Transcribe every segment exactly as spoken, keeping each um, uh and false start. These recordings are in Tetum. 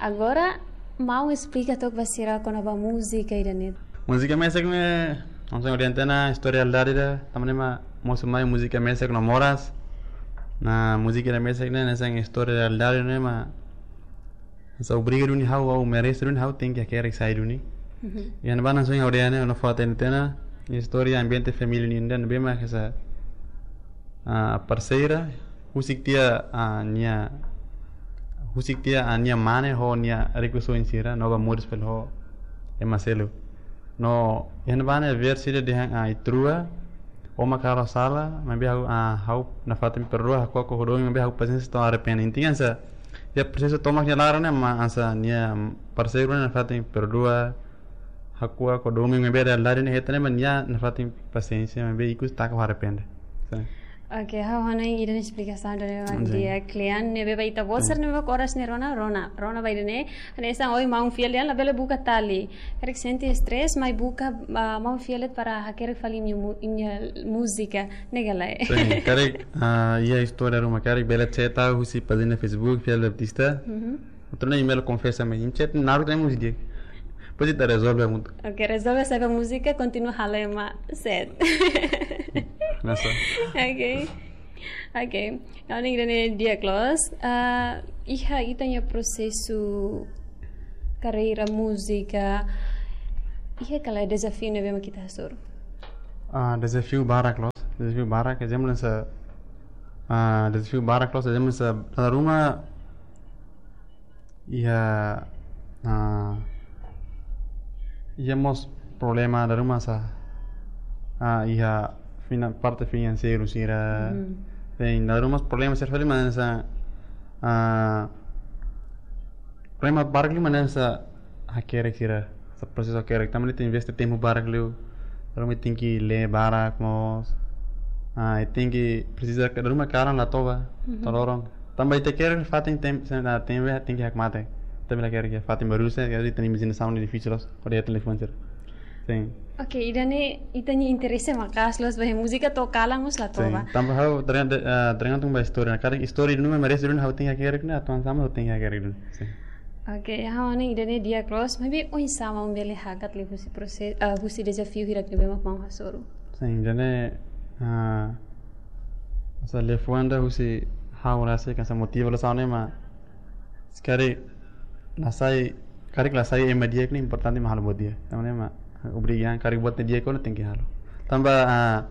Agora, maun esplika tok ba sira kona-ba múzika ida-ne'e. Múzika mesak ne'e, hanesan ohin dehan tiha ona, istória realidade ida, tanba ne'e mak mosu mai múzika mesak no moras. Ne'e múzika ida mesak ne'e, hanesan istória realidade ne'e mak, hanesan obriga duni ha'u, ha'u merese duni ha'u tenke hakerek sai duni. Mhm. Iha ne'ebá hanesan ohin dehan ne'e, no foto ne'e tiha ona, istória ambiente família nian ida ne'ebé mak hanesan, ah, parseira, husik tiha, ah, nia, husik tiha, ah, nia mane ho nia rikusoin sira, no ba moris fali ho ema seluk. No, iha ne'ebá ne'e versi ida dehan, ah, ita rua, ó mak halo sala, maibé ha'u, ah, ha'u nafatin perdua, hakuak ho domin, maibé ha'u pasiénsia to'o arrepende. Intinya hanesan, iha prosesu tomak nia laran ne'e, mak hanesan nia parseira ne'e nafatin perdua, hakuak ho domin, maibé realidade ne'e hetan ne'e mak nia nafatin pasiénsia, maibé ikus taka ho arrepende. Sin. Oke, ha'u hanoin ida-ne'e esplikasaun ida-ne'e mak, sin, di'ak lian, ne'ebé ba ita-boot sira, sin, ne'ebé oras ne'e rona, rona, rona ba ida-ne'e, hanesan ohin maun fiar lian labele buka tali. Karik sente stress, mai buka, ah, maun fiar de'it para hakerek fali imi-nia mu-, imi-nia múzika, ne'e ka lae? Sin, karik, ah, iha istória ruma karik bele chat ha'u husi pájina Facebook, Fiel Baptista. Mhm. Atu nune'e email konfesa mai, imi chat naruk temu dia. Depois ita rezolve hamutuk. Oke, rezolve sai ba múzika, kontinua halo ema set. Nasa. Oke. Oke. Ha'u hanoin ida-ne'e di'ak loos. Ah, iha ita-nia prosesu karreira múzika, iha ka lae dezafiu ne'ebé mak ita hasoru? Ah, dezafiu barak loos. Dezafiu barak, ezemplu hanesan, ah, dezafiu barak loos, ezemplu hanesan, dala ruma iha, ah, iha mós problema dala ruma hanesan, ah, iha fina-, parte finanseiru sira. Mhm. Tem dala ruma mós problema sira fali, mas hanesan, ah, problema barak liu mak hanesan hakerek sira, hanesan prosesu hakerek. Tanba ita investe tempu barak liu, dala ruma tenke lee barak mós. Ah, tenke presiza dala ruma kalan la toba, mhm, to'o loron. Tanba ita hakerek fatin tem-, sem-, ah, tem, tenke hakmatek. Tanba la hakerek iha fatin barak sira, ita-nia imajinasaun difisil loos, hodi iha telefone sira. Sin. Oke, ida-ne'e ita-nia interese maka'as loos ba múzika to'o kalan mós la toba. Sin. Tanba ha'u tergan-, de-, ah, tergantung ba istória. Karik istória duni mak merese duni ha'u tenke hakerek ne'e, atu hanesan ha'u tenke hakerek duni. Sin. Oke, ha'u hanoin ida-ne'e di'ak loos, maibé oinsá maun bele hakat liu husi prose-, ah, husi dezafiu hirak ne'ebé mak maun hasoru? Sin, ida-ne'e, ah, hanesan liafuan ida husi ha'u rasik hanesan motiva loos ha'u ne'e mak, se karik la sai, karik la sai ema di'ak ne'e importante mak halo buat di'ak. Tanba ne'e mak obriga, karik buat ne'e di'ak ona tenke halo. Tanba, ah,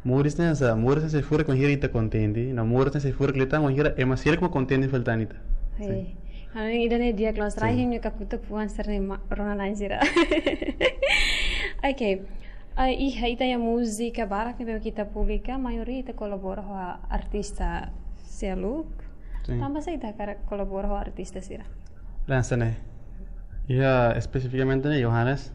moris ne'e hanesan, moris ne'e sei furak wainhira ita kontente, no moris ne'e sei furak liután wainhira ema seluk mak kontente fali tan ita. Sin. Hei. Ha'u hanoin ida-ne'e di'ak loos, sin, rai hanya kakutuk fuan sira-ne'e mak rona na'in sira. Oke. Ah, iha ita-nia múzika barak ne'ebé ita publika, maioria ita kolabora ho artista seluk. Sin. Tanba sá ita hakarak kolabora ho artista sira? Hanesan ne'e. Iha espesifikamente ne'e Johannes.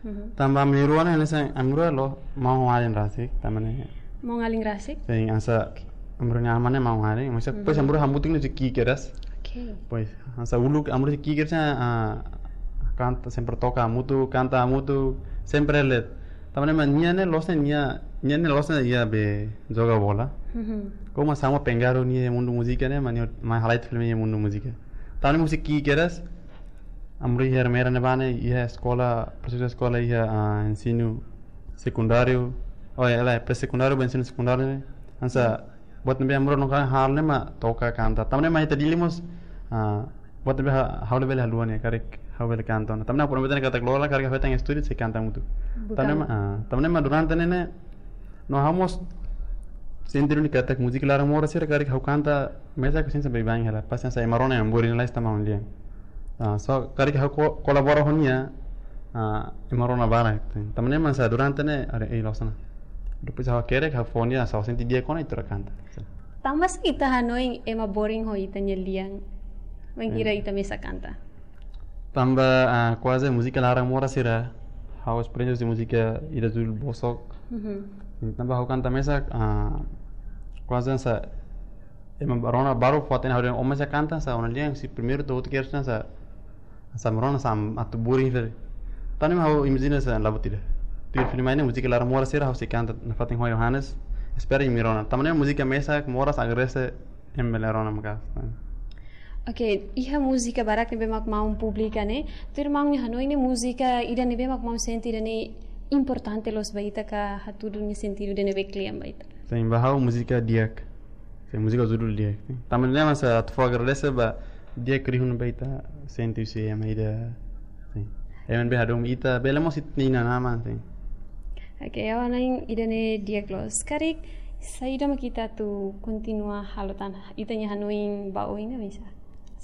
Mhm. Tanba ami rua ne'e, hanesan ami rua loos maun-alin rasik, tanba ne'e. Maun-alin rasik? Sin, hanesan ami rua-nia aman ne'e maun-alin, mas, mhm, depois ami rua hamutuk ne'e husi ki'ik kedas. Oke. Depois, hanesan uluk ami rua husi ki'ik kedas, ah, kanta sempre toka hamutuk, kanta hamutuk, sempre leet. Tanba ne'e mak nia ne'e loos ne'e nia, nia ne'e loos ne'e iha be joga bola. Mhm. Komu hanesan mak pengaruh nia iha mundu múzika ne'e, mak nia mai halai fali iha mundu múzika. Tanba ne'e husi ki'ik kedas, ami rua iha Ermera ne'ebá ne'e, iha eskola, prosesu eskola iha, ah, ensinu sekundáriu, oh, iha, iha pré-sekundáriu ba ensinu sekundáriu ne'e. Hanesan, buat ne'ebé ami rua nunka halo ne'e mak toka kanta. Tanba ne'e mak ita Dili mós, ah, buat ne'ebé ha-, ha'u labele haluha ne'e, karik ha'u bele kanta ona. Tanba ne'e ha'u promete ona katak loron laran karik ha'u hetan estúdiu sei kanta hamutuk. Bukan. Tanba ne'e mak, ah, tanba ne'e mak durante ne'e ne'e, no ha'u mós sente duni katak múzika laran moras sira karik ha'u kanta mesak hanesan baibain hela. Pasti hanesan ema rona iha boring la esta maun lian. Ah, so karik ha'u ko-, kolabora ho nia, ah, ema rona barak. Tanba ne'e mak hanesan durante ne'e, are, ei, loos ona. Depois ha'u hakerek, ha'u fó nia, hanesan ha'u sente di'ak ona, ita rua kanta. Tanba sá ita hanoin ema boring ho ita-nia lian? Wainhira, eh, ita mesak kanta. Tanba, ah, kuaze múzika laran moras sira, ha'u esperiénsia husi múzika ida judul Bosok. Mhm. Tanba ha'u kanta mesak, ah, kuaze hanesan ema rona balu fó-hatene ha'u dehan ó mesak kanta, hanesan ó-nia lian husi primeiru to'o últimu kedas hanesan, hanesan rona hanesan atu boring fali. Tanba ne'e mak ha'u imajina hanesan la buat ida. Tuir fali mai ne'e múzika laran moras sira ha'u sei kanta nafatin ho Johannes. Espera imi rona. Tanba ne'e mak múzika mesak moras agradese ema bele rona maka'as. Ok, iha múzika barak ne'ebé mak maun publika ne'e, tuir maun nia hanoin ne'e múzika ida ne'ebé mak maun sente ida ne'e importante loos ba ita ka hatudu nia sentidu ida ne'ebé kle'an ba ita. Sin, ba ha'u múzika di'ak. Sin, múzika judul di'ak. Sin. Tanba ne'e mak atu fó agradese ba di'ak rihun ba ita sente husi ema ida. Sin. Ema ne'ebé hadomi ita, bele mós ita-nia inan-aman, sin. Ok, ha'u hanoin ida ne'e di'ak loos. Karik, saida mak ita atu kontinua halo tan, ita-nia hanoin ba oin ne'e bisa.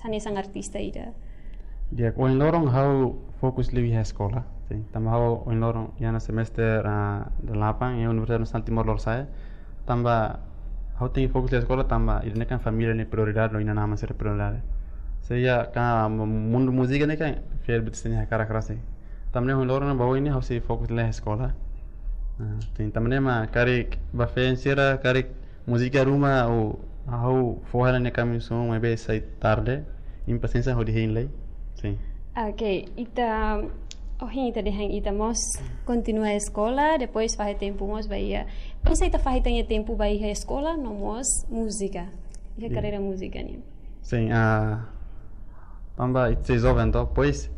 Hanesan artista ida. Di'ak, ohin loron ha'u fokus liu iha eskola. Sin, tanba ha'u ohin loron iha ona semester, ah, delapan iha Universidade Nasionál Timor Lorosa'e. Tanba ha'u tenke fokus liu eskola, tanba ida-ne'e kan família nia prioridade, no inan-aman sira prioridade. Se iha ka mundu múzika ne'e kan fiel betul seni hakarak rasik. Tanba ne'e ohin loron ba oin ne'e ha'u sei fokus liu eskola. Ah, sin, tanba ne'e mak karik ba feen sira, karik múzika ruma ou ha'u fó hela ne'e kami som maibé sai tarde, impasiénsia hodi hein lai. Sin. Ok, ita, ohin ita dehan ita mós kontinua eskola, depois fahe tempu mós ba iha. Oinsá ita fahe ita-nia tempu ba iha eskola, no mós múzika. Iha Sin. Karreira múzika nian. Sin, ah, tanba ita sei joven to, pois,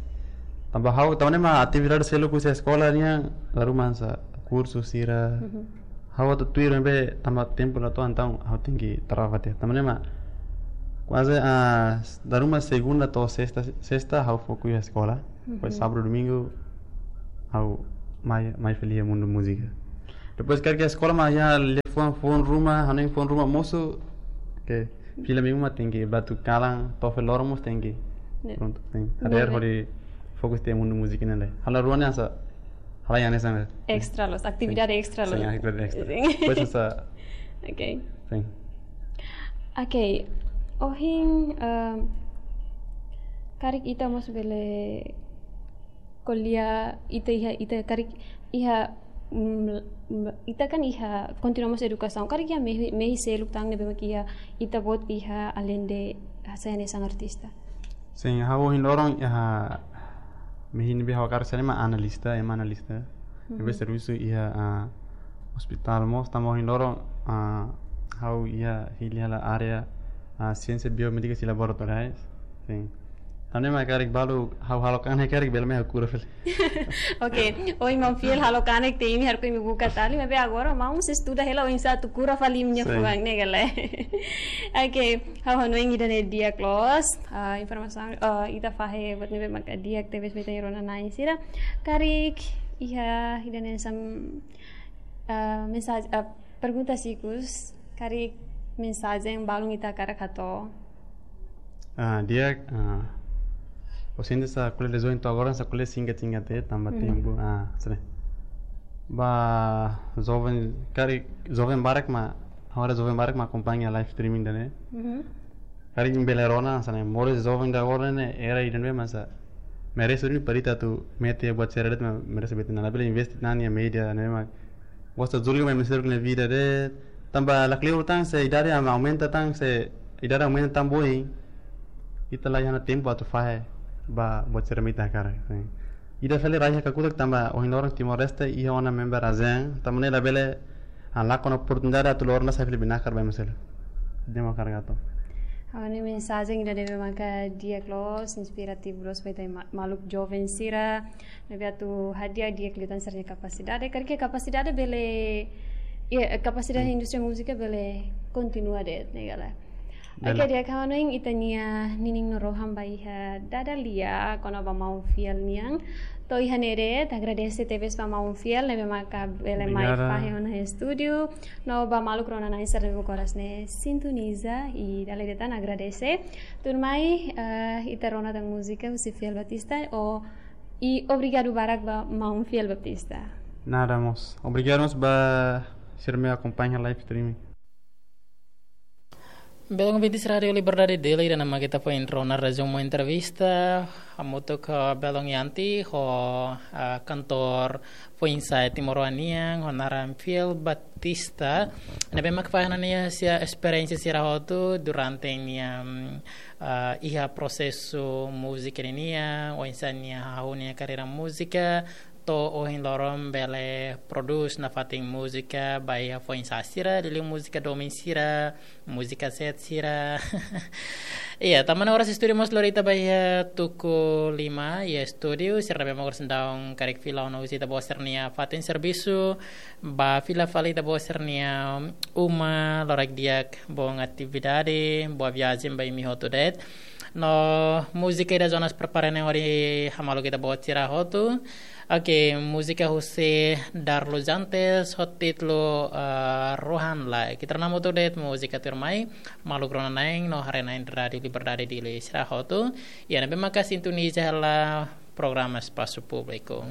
tanba ha'u, tanba ne'e mak atividade seluk husi eskola nian, dala ruma hanesan kursu sira. Mhm. Ha'u atu tuir ne'ebé tanba tempu la to'o entaun ha'u tenke trava tiha. Tanba ne'e mak kuaze, ah, dala ruma segunda to'o sesta, sesta ha'u foku iha eskola. Depois Mhm. sábadu, domingu ha'u mai, mai fali iha mundu múzika. Depois karik eskola mak iha liafuan foun ruma, hanoin foun ruma mosu, ke fila minggu mak tenke bá to'o kalan, to'o fali loron mós tenke. Ne. Prontu, tenke. Hadeer Ne'ebé. Hodi fokus tiha mundu múzika ne'e. Halo rua ne'e hanesan, halo yang ne'e hanesan. Extra loos, atividade Sin. Extra Sin, loos. Atividade extra. Sin. Pois hanesan. Ok. Sin. Ok. Ohin, ehm, karik ita mós bele ko'alia ita iha, ita karik iha, mm, mm, ita kan iha kontinua mós edukasaun. Karik iha mehi, mehi seluk tan ne'ebé mak iha ita-boot iha alende hanesan artista. Sin, ha'u ohin loron iha mehi ne'ebé ha'u hakarak sai mak analista, ema analista. Mhm. Ne'ebé servisu iha, ah, ospitál mós, tanba ohin loron, ah, ha'u iha hili hela área, ah, siénsia biomédika i laboratoriais. Sin. Tanba ne'e mak karik balu ha'u halo kanek karik bele mai ha'u kura fali. Ok, ohin maun fiel halo kanek tiha imi harus imi buka tali, maibé agora maun sei estuda hela oinsá atu kura fali imi-nia Sin. Fuan ne'e ka lae. Ok, ha'u hanoin ida ne'e di'ak loos, ah, informasaun, ah, ita fahe buat ne'ebé maka di'ak tebes ba ita-nia rona-na'in sira. Karik iha ida ne'e hanesan, ah, mensajen, ah, pergunta ikus, karik mensajen balun ita hakarak hato'o. Ah, di'ak, ah, ha'u sente hanesan ko'alia dezoin to'o agora hanesan ko'alia singkat-singkat de'it, tanba Mhm. tempu, ah, sere. Ba joven, karik joven barak mak, agora joven barak mak akompaña live streaming ida ne'e. Mhm. Karik imi bele rona, hanesan ne'e, moris joven ida agora ne'e, era ida ne'ebé mak hanesan merese duni para ita atu mete buat sira de'it mak merese bete na, labele investe tan iha média ne'e mak gosta julga mak merese duni vida de'it, tanba lakleur tan se idade mak aumenta tan se idade aumenta tan boin. Ita la iha ona tempu atu fahe ba buat sira mak ita hakarak. Ida fali rai iha kakutak tanba ohin loron Timor-Leste iha ona member ASEAN, tanba ne'e labele, ah, lakon oportunidade atu lori ona sai fali binakar ba ema seluk. Ida ne'e mak hakarak hato'o. Ha'u-nia mensajen ida ne'ebé maka di'ak loos, inspirativu loos ba ita ma-, maluk joven sira. Ne'ebé atu hadi'a di'ak liután sira-nia kapasidade. Karik iha kapasidade bele, iha, kapasidade Hmm. indústria múzika bele kontinua de'it, ne'e ka lae. Bele. Ok, di'ak, ha'u hanoin ita-nia ninin no rohan ba iha dada lia, kona-ba maun fiel nian. To'o iha ne'e de'it, agradese tebes ba maun fiel, ne'ebé maka bele mai Obrigada. Fahe ona iha estúdiu. No ba maluk rona-na'in sira ne'ebé koras ne'e sintoniza, i dala ida tan agradese. Tuirmai, eh, ita rona tan múzika husi Fiel Batista, o, i obrigadu barak ba maun Fiel Batista. Nada mós. Obrigadu mós ba sira ne'ebé akompaña live streaming. Belun ouvintes Rádio Liberdade Dili, ida-ne'e mak ita foin rona rezumu entrevista hamutuk ho belun Yanti, ho, ah, kantór foin-sa'e timoroan nian, ho naran Fiel Batista. Ne'ebé mak fahe ona nia, nia esperiénsia sira hotu durante nia, mm, ah, iha prosesu múzika ninian, oinsá nia hahú nia karreira múzika, to'o ohin loron bele prodús nafatin múzika ba iha foin-sa'e sira, liuliu múzika domin sira, Múzika set sira. Iya, tanba oras estúdiu mós lori ita ba iha tuku lima iha estúdiu, sira ne'ebé mós oras daudaun karik fila ona husi ita-boot sira-nia fatin servisu, ba fila fali ita-boot sira-nia uma, loraik di'ak, boa atividade, boa viajen ba imi hotu de'it. No múzika ida Jonas prepara ne'e hodi hamaluk ita-boot sira hotu. Oke, múzika husi Darlo Jantes, ho títulu, ah, Rohan Lai. Ita rona hamutuk de'it múzika tuirmai, maluk rona-na'in no haree-na'in Rádiu Liberdade Dili sira hotu. Iha ne'ebé maka sintoniza hela programa Espasu Públiku.